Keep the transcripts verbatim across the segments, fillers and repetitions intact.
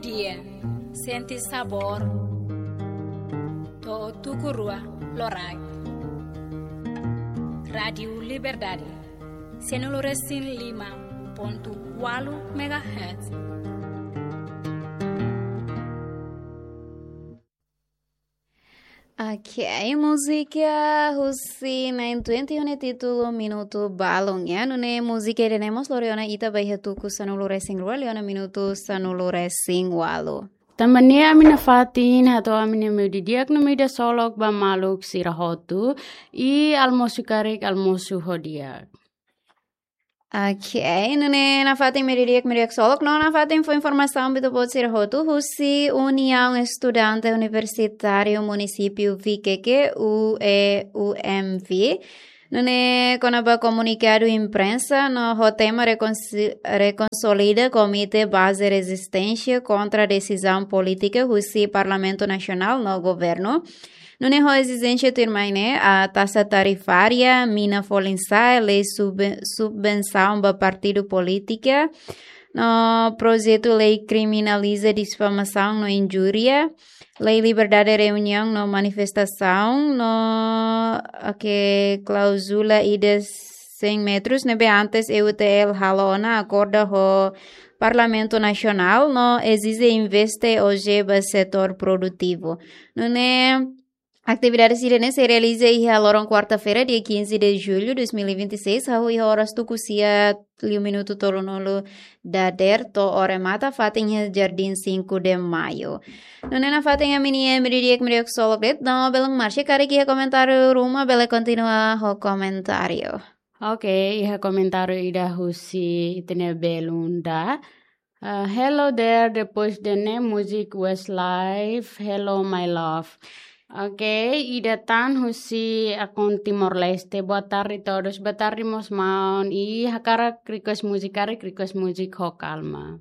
Dia, sente sabór to'o tuku rua loraik. Rádiu Liberdade, sanulu-resin-lima pontu ualu megahertz. Ok, múzika husi nine twenty ho nia títulu Minutu Balun, ya. Nune'e múzika ida-ne'e mós lori ona ita ba iha tuku sanulu-resin-rua liu ona minutu sanulu-resin-ualu. Tanba ne'e ami nafatin hato'o ami-nia meiudia di'ak no meiudia ksolok ba maluk sira hotu, i almosu karik, almosu ho di'ak. Ok, nune'e nafatin meiudia di'ak, meiudia ksolok, no nafatin fó informasaun ba ita-boot sira hotu husi Uniaun Estudante Universitáriu Munisípiu Viqueque, U E U M V. Nune'e kona-ba komunikadu imprensa no ho tema rekonsi-, rekonsolida Komité Baze Rezisténsia kontra desizaun polítika husi Parlamentu Nasionál no Governu. Nune'e ho ezijénsia tuirmai ne'e, a taxa tarifária, mina folin sa'e, lei sub-, subvensaun ba partidu polítika, no projetu lei kriminaliza difamasaun no injúria, lei liberdade reuniaun no manifestasaun, no, ok, klauzula ida cem metros, ne'ebé antes E U T L halo ona akorda ho Parlamentu Nasionál, no ezije investe oje ba setór produtivu. Nune'e atividade sira-ne'e sei realiza iha loron kuarta-feira, dia quinze de julho dois mil e vinte e seis, hahú iha oras tuku sia liu minutu tolunulu dadeer to'o remata fatin iha Jardim cinco de Maio. Nune'e nafatin ami-nia meiudia di'ak, meiudia ksolok de'it, no belun Marsha, karik iha komentáriu ruma bele kontinua ho komentáriu. Ok, iha komentáriu ida husi ita-nia belun Dá. Ah, hello there, depois de ne'e music Westlife, Hello My Love. Ok, ida tan husi akun Timor-Leste. Boa tarde todos. Boa tarde, mós maun. I hakarak request múzika, karik request múzika ho Calma.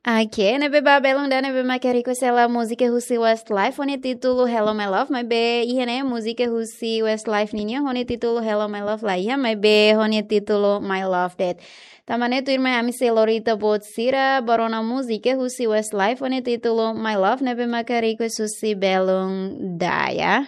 Ok, ne'ebé ba belun Dá ne'ebé mak hakarak request hela múzika husi Westlife ho nia títulu Hello My Love, maibé iha ne'e múzika husi Westlife ninian ho nia títulu Hello My Love la iha, maibé ho nia títulu My Love de'it. Tanba ne'e tuirmai ami sei lori ita-boot sira ba rona múzika husi Westlife ho nia títulu My Love ne'ebé mak hakarak request husi belun Dá, ya.